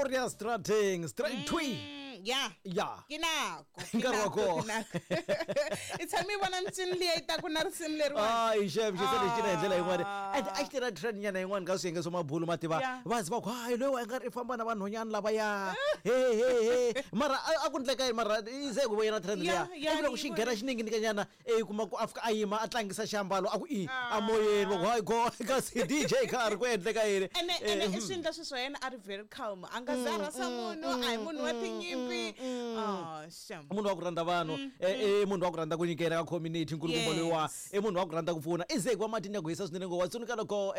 Korea Strating straight twi. Ya. Ya. Ke nako. Ke Nkarhi wa nako, kona. ke nako. I tshame i vona micini liya yi taku na risimu leriwani. Hayi xem xi se lexi cina hi ndlela yin'wana. Ah. And a xi tirha trend nyana yin'wana ka swiyenge swa mabulu ma tiva. Yeah. Va zi va ku hayi loyi wa nga ri i famba na vanhwanyana lavaya. He he he. Mara a ku ndleka yini mara yi ze ku vuyela trend liya. Yeah, yeah, Ivi loko ni xi yi nghena vonile. xi ninginikanyana i kuma ku a fika a yima a tlangisa xiambalo a ku i a moyeni va ku hayi go kasi DJ ka ri ku endleka yini. Ene ene i swi endla swilo swa yena a ri very calm, a nga za rhasa munhu, a hi munhu wa tinyimpi. Ah, shame. Munhu wa ku rhandza vanhu, i munhu wa ku rhandza ku nyikela ka community nkulukumba loyiwa. I munhu wa ku rhandza ku pfuna, i ze ku va matini ya ku hisa swinene ngopfu. Wa tsundzuka loko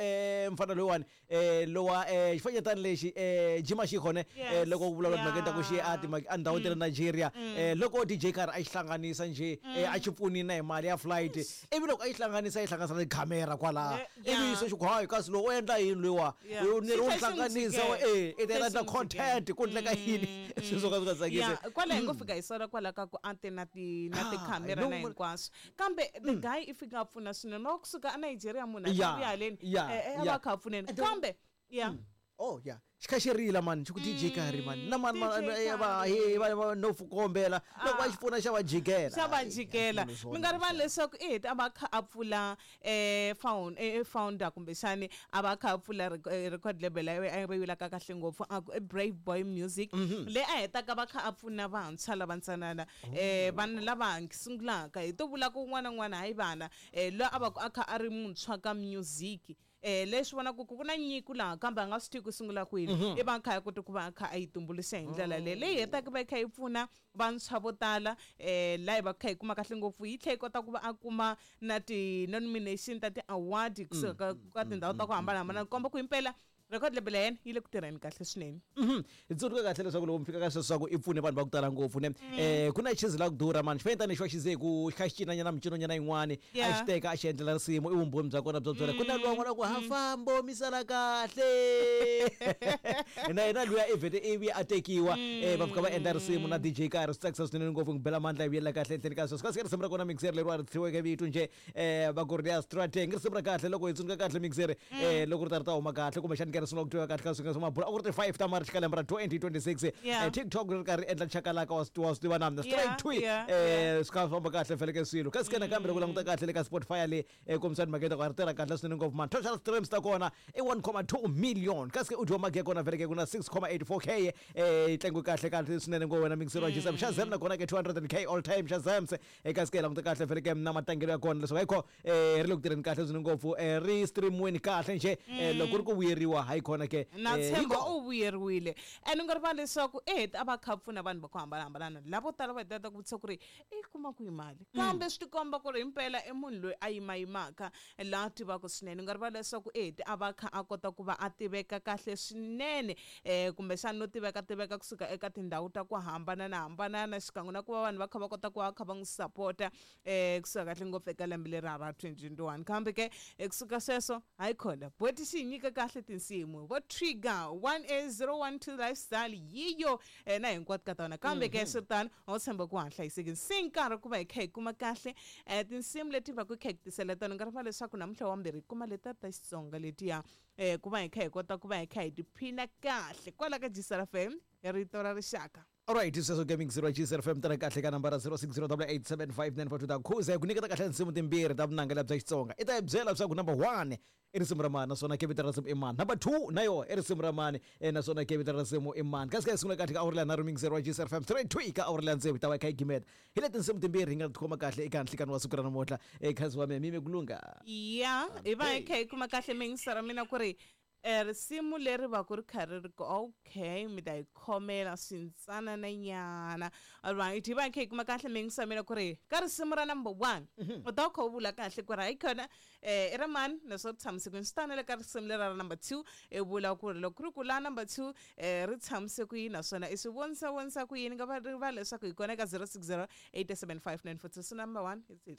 mfana loyiwani lowa xifanyetana lexi jima xikhone loko ku vulavula timhaka ta ku xi a timhaka a ndhawu ta le Nigeria, loko DJ karhi a xi hlanganisa nje, a xi pfunile na hi mali ya flight, ivi loko a yi hlanganisa, yi hlanganisa na tikhamera kwalaha, ivi se xi ku hayi kasi lowu u endla yini loyiwa, ni ri Xi u tlhela xi n'wi hlanganisa jikela. I ta Xi endla tlhela xi n'wi content ku endleka yini, swilo swo ka swi nga tsakisi. Ya, kwala hi ngo fika hi sola kwala ka ku a te na ti na Ah, tikhamera no, na hinkwaswo, kambe the guy i fika a pfuna swinene loko kusuka a Nigeria munhu a vuya haleni, a va kha a pfuneni kambe ya. Oh ya, xi kha xi rila mani, xi ku DJ karhi mani na mani DJ va Karhi. he va no kombela loko va xi pfuna xa va jikela. Xa va jikela. Mi nga rivali leswaku i heta a va kha a pfula founder kumbexani a va kha a pfula record label a yi vulaka kahle ngopfu a ku i Brave Boy Music, leyi a hetaka va kha a pfuna vantshwa lava ntsanana, vanhu lava sungulaka hi to vula ku un'wana na un'wana, hayi vana, loyi a va ku a kha a ri muntshwa ka music, leswi vonaka ku ku na nyiko laha kambe a nga swi tivi ku sungula kwini, i va a kha a kota ku va a kha a yi tumbuluxa hi ndlela leyi, leyi hetaka va yi kha yi pfuna vantshwa vo tala, laha hi va kha hi kuma kahle ngopfu, yi tlhela yi kota ku va a kuma na ti-nomination ta ti-award kusuka ka tindhawu ta ku hambanahambana, ku komba ku himpela record label ya yena yi le ku tirheni kahle swinene. Hi tsundzuka kahle leswaku loko mi fika ka sweswo swa ku i pfune vanhu va ku tala ngopfu ne, ku na chizi la ku durha mani, xifanyetana lexi wa xi ze ku xi kha xi cinanyana micinonyana yin'wani, a xi teka a xi endlela risimu, i vumbhoni bya kona byo byela ku na luwa n'wana ku ha fambo mi sala kahle na yena luya i vhete ivi a tekiwa, va fika va endla risimu na DJ Karhi. Swi tsakisa swinene ngopfu, n'wi bela mandla hi vuyela kahle enhleni ka sweswo. Kasi risimu ra kona mixer leriwa ri thyiweke vito nje, va ku ri ya Strateng, risimu ra kahle loko hi tsundzuka kahle mixer, loko ri ta ri ta huma kahle kumbexani ke ri sungula ku twiwa kahle ka swinga swa mabulu, a ku ri ti 5 ta March ka lembe ra 2026. TikTok ri karhi endla chakalaka, wa swi tiva na mina straight twi, swi kha swi famba kahle feleke swilo. Kasi ke nakambe loko languta kahle le ka Spotify le, kombisani mhaka ku ri tirha kahle swinene ngopfu man, total streams ta kona i 1.2 million, kasi ke audio magi ya kona feleke ku na 6.84K, yi tlangiwe kahle kahle swinene ngopfu wena mixer wa Gisam. Shazam na kona ke 200K all time Shazams, kasi ke languta kahle feleke na matlangelo ya kona leswaku ayikho, ri le ku tirheni kahle swinene ngopfu, ri streamiweni kahle nje, loko ri ku vuyeriwa hayi khona ke. Na tshemba Hiko. U vuyeriwile, and u nga rivali leswaku i heta a va kha a pfuna vanhu va ku hambanahambana, lavo tala va heta ta ku vutisa ku ri i kuma kwihi mali, kambe swi tikomba ku ri himpela i munhu loyi a yimayimaka laha tivaka swinene. U nga rivali leswaku i heta a va kha a kota ku va a tiveka kahle swinene, kumbexana no tiveka tiveka kusuka eka tindhawu ta ku hambanana hambanana, xikan'we na ku va vanhu va kha va kota ku va kha va n'wi sapota, kusuka kahle ngopfu eka lembe leri ra 2021. Kambe ke kusuka sweswo hayi khona boti xi hi nyika kahle tinsimu vo Trigger 1A012 lifestyle yiyo, na hinkwato ka tona, kambe ke swi ri tano a wu tshemba ku ha hlayisekile se nkarhi ku va hi kha hi kuma kahle, tinsimu leti va ku kha hi ku tisela tona. Nkarhi va leswaku namuntlha wa mbirhi hi kuma letiya ta Xitsonga letiya, ku va hi kha hi kota ku va hi kha hi tiphina kahle kwala ka Gisela FM, rito ra rixaka. Alright, sweswo ke mixer wa Gisela FM tana kahle ka nambara 0608875942 ta khuza ku nyiketa kahle tinsimu timbirhi ta vunanga bya Xitsonga. I ta hi byela leswaku number 1 i risimu ra mani, naswona ke vito ra risimu i mani. Number 2 na yo i risimu ra mani, naswona ke vito ra risimu i mani. Kasi ka hi sungula kahle ka awara leya nharhu mixer wa Gisela FM straight to ka awara leya tsevu hi ta va hi kha hi gimeta. Hi le tinsimu timbirhi hi nga ti khoma kahle eka nhlikani wa siku ra namuntlha. Khazi wa mehe mime ku lungha. Ya, hi va hi kha hi kuma kahle mixer ra mina ku ri risimu leri va ku ri kha ri ri ku okay mi ta yi khomela swintsanana nyana. Alright, hi va hi kha hi kuma kahle mixer mina ku ri ka risimu ra number 1, u ta kha u vula kahle ku ri hayi khona, i ra mani naswona ri tshamise kwini. Swi tano le ka risimu leri ra number 2, i vula ku ri loko ku ri ku la number 2, ri tshamise ku yini naswona i swi vonisa vonisa ku yini. Nga va rivali leswaku hi kona eka 06087594 2, number 1 hi tsilo.